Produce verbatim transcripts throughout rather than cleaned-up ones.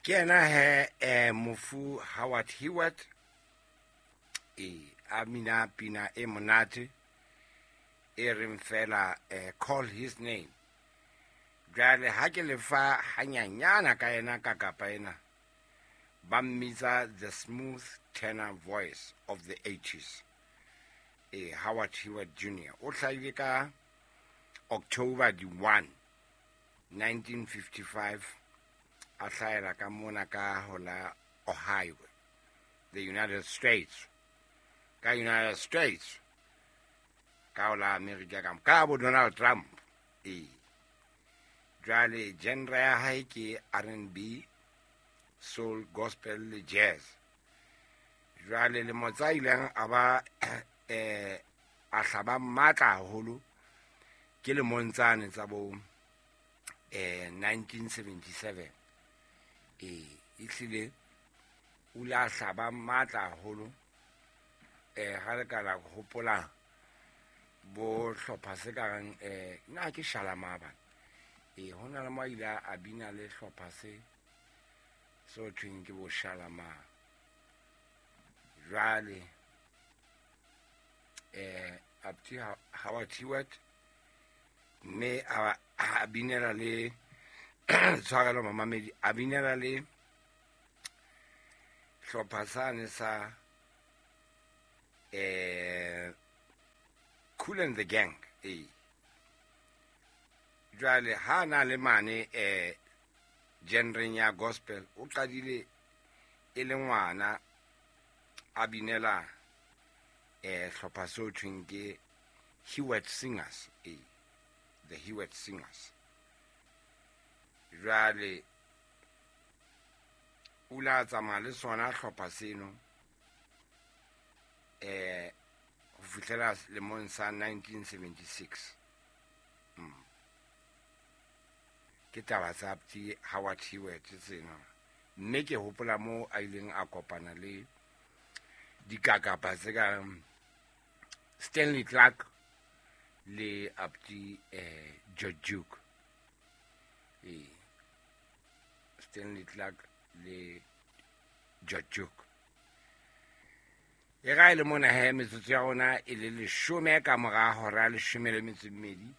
Ke yena he eh, mofu Howard Hewett e a mina pina e monate e reng fela eh, "Call His Name". Jwale ha ke lefa hanyanyana ka yena ka kapa ena, ba mmitsa the smooth tenor voice of the eighties. E Howard Hewett Junior o hlahile ka October di one nineteen fifty-five, a hlahela ka mona ka hola Ohio, the United States, ka United States, ka hola America, ka ka bo Donald Trump. E jwale genre ya hae ke R and B, soul, gospel le jazz. Jwale lemo tsa ileng a ba eh a hlaba matla haholo ke lemong tsane tsa bo eh nineteen seventy-seven. E ehlile o ile a hlaba matla haholo. eh ha re ka la hopola bo hlopha se ka reng eh na ke Shalamar bana, e ho na le mo a ile a bina le hlopha se so thweng ke bo Shalamar. Jwale eh Apti Howard Hewett mme a a binela le, tshwarelo mamamedi, a binela le hlopha sane sa eh Kool and the Gang. E jwale ha na le mane eh genreng ya gospel, o qadile e le ngwana a binela eh hlopha se thweng ke Hewett Singers, e the Hewett Singers. Jwale o ile a tsamaya le sona hlopha seno eh ho fihlela lemong sa nineteen seventy-six. mm. ke taba tsa Apti Howard Hewett tsena, mme ke hopola mo a ileng a kopana le dikakapa tse ka Stanley Clark le Apti eh, George Duke, e Stanley Clark le George Duke. E ga e le mona he, metsotso ya rona e le leshome ka mora hora ya leshome le metso e mmedi.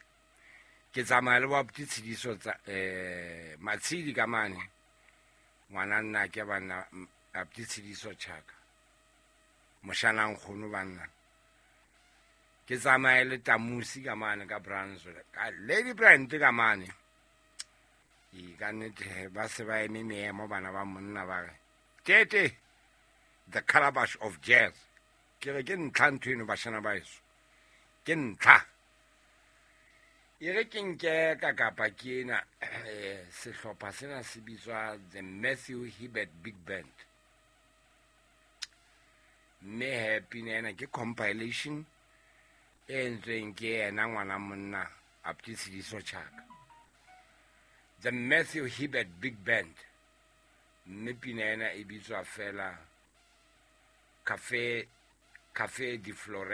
Ke tsamaya le boaputi Tshediso tsa eh Matshedi ka mane, ngwana nna ke banna Aputi Tshediso Chaka, moshana nkgono banna. Ke tsamaye le Tamusi ka mane ka Brownsville, ka Lady Brand ka mane. E ka nnete ba se ba eme meemo bana ba monna, ba re tete the calabash of jazz. Ke re ke ntlha ntho eno, bashana ba eso, ke ntlha. E re ke nke ka kapa ke ena eh, sehlopha sena se bitswa the Matthew Hibbert Big Band, mme he pina ena ke compilation e entsweng ke yena ngwana monna Apti Tshediso Chaka, the Matthew Hibbert Big Band, mme pina ena e bitswa fela Cafe Cafe de Flore.